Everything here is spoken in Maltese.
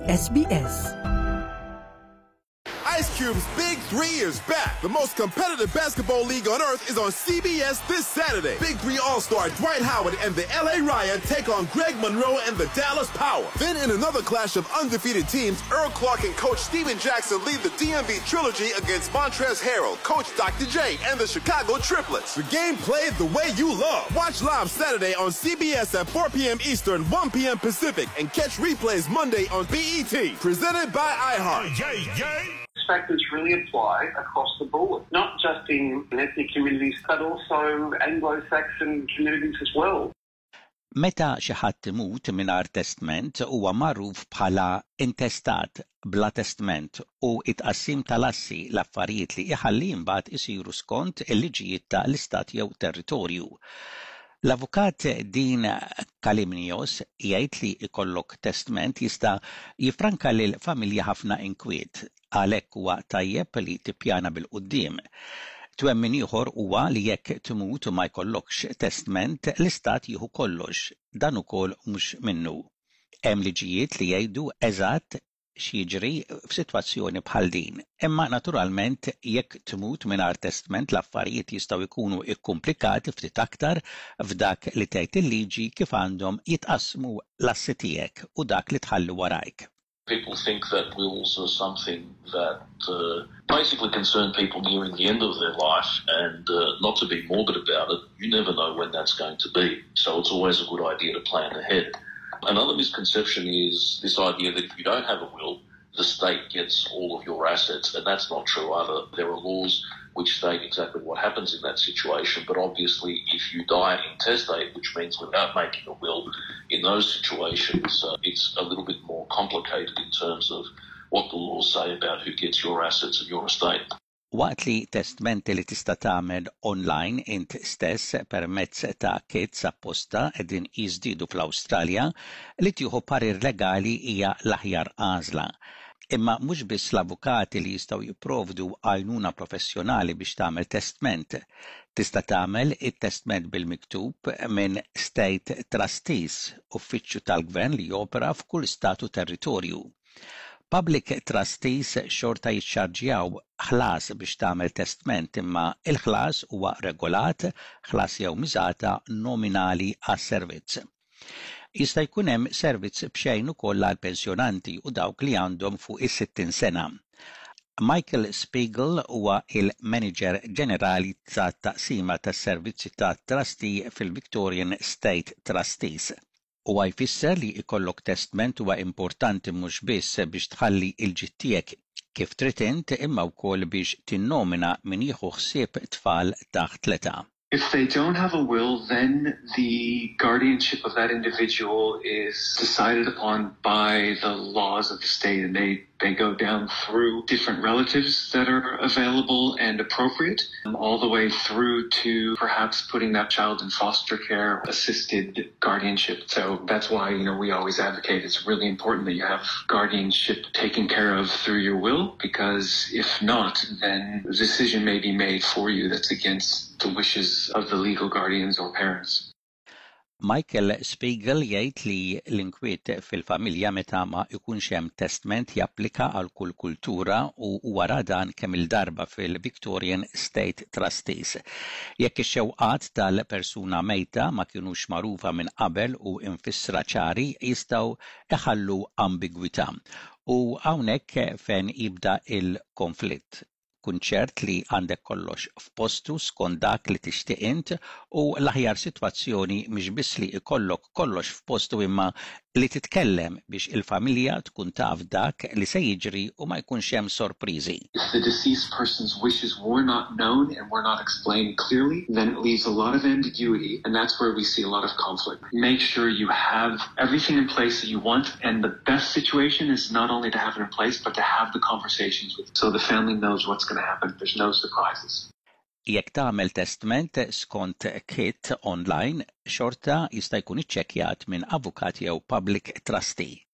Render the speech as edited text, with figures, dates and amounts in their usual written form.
SBS. Ice Cube's Big Three is back. The most competitive basketball league on earth is on CBS this Saturday. Big Three All-Star Dwight Howard and the LA Riot take on Greg Monroe and the Dallas Power. Then in another clash of undefeated teams, Earl Clark and Coach Steven Jackson lead the DMV Trilogy against Montrez Harrell, Coach Dr. J, and the Chicago Triplets. The game played the way you love. Watch live Saturday on CBS at 4 p.m. Eastern, 1 p.m. Pacific, and catch replays Monday on BET. Presented by iHeart. Factors really apply across the board, not just in ethnic communities, but also Anglo-Saxon communities as well. Meta xi ħadd imut mingħajr testment huwa magħruf bħala intestat, bla testment, u t-tqassim tal-assi, l-affarijiet li iħalli imbagħad isiru skont il-liġijiet ta' l-istat jew territorju. L-Avukat Dean Kalimnios jgħid li jkollok testment jista' jiffranka lill-familja ħafna inkwiet. Għalhekk huwa tajjeb li tippjana bil-quddiem. Twemmin ieħor huwa li jekk tmut u ma jkollokx testment, l-istat jieħu kollox. Dan ukoll mhux minnu. Hemm liġijiet li jgħidu eżatt x'jiġri f'sitwazzjoni bħal din. Imma naturalment jekk tmut mingħajr testment l-affarijiet jistgħu jkunu kkumplikati ftit aktar f'dak li tgħid il-liġi kif għandhom jitqassmu l-assi tiegħek u dak li tħalli warajk. People think that wills are something that uh, basically concern people nearing the end of their life and uh, not to be morbid about it, you never know when that's going to be. So it's always a good idea to plan ahead. Another misconception is this idea that if you don't have a will, the state gets all of your assets, and that's not true either. There are laws which state exactly what happens in that situation, but obviously if you die intestate, which means without making a will, in those situations uh, it's a little bit more complicated in terms of what the laws say about who gets your assets and your estate. Waqt li testmenti li tista' tagħmel online int stess permezz ta' kits apposta qegħdin jiżdiedu fl-Awstralja, li tieħu parir legali hija l-aħjar għażla. Imma mhux biss l-avukati li jistgħu jipprovdu għajnuna professjonali biex tagħmel testment. Tista' tagħmel it-testment bil-miktub minn State Trustees, uffiċċju tal-gvern li jopera f'kull stat u territorju. Public trustees xorta jiċċarġjaw ħlas biex tagħmel testment imma l-ħlas huwa regolat, ħlas jew miżata nominali għas-servizz. Jista' jkun hemm servizz b'xejn ukoll għall-pensjonanti u dawk li għandhom fuq is-60 sena. Michael Spiegel huwa il-Maniġer Ġenerali tat-Taqsima tas-Servizzi tat-Trustee fil-Victorian State Trustees. Huwa jfisser li jkollok testment huwa importanti mhux biss biex tħalli l-ġid tiegħek kif trid int imma wkoll biex tinnomina min jieħu ħsieb tfal taħt l-età. If they don't have a will, then the guardianship of that individual is decided upon by the laws of the state and they they go down through different relatives that are available and appropriate, um, all the way through to perhaps putting that child in foster care, assisted guardianship. So that's why, you know, we always advocate it's really important that you have guardianship taken care of through your will, because if not, then a decision may be made for you that's against the wishes of the legal guardians or parents. Michael Spiegel jgħid li l-inkwiet fil-familja meta ma jkunx hemm testment japplika għal kull kultura u huwa ra dan kemm-il darba fil-Victorian State Trustees. Jekk ix-xewqat tal-persuna mejta ma kinux magħrufa minn qabel u mfissra ċari jistgħu iħallu ambigwità. U hawnhekk fejn jibda l-konflitt. Kun ċert li għandek kollox f'postu skont dak li tixtieq int u l-aħjar sitwazzjoni mhix biss li jkollok kollox f'postu imma li titkellem biex il-familja tkun taf dak li se jiġri u ma jkunx hemm sorpriżi. If the deceased person's wishes were not known and were not explained clearly, then it leaves a lot of ambiguity and that's where we see a lot of conflict. Make sure you have everything in place that you want and the best situation is not only to have it in place but to have the conversations with so the family knows what's going to happen, there's no surprises. Jekk tagħmel testment skont kit online, xorta jista' jkun iċċekkjat minn avukat jew public trustee.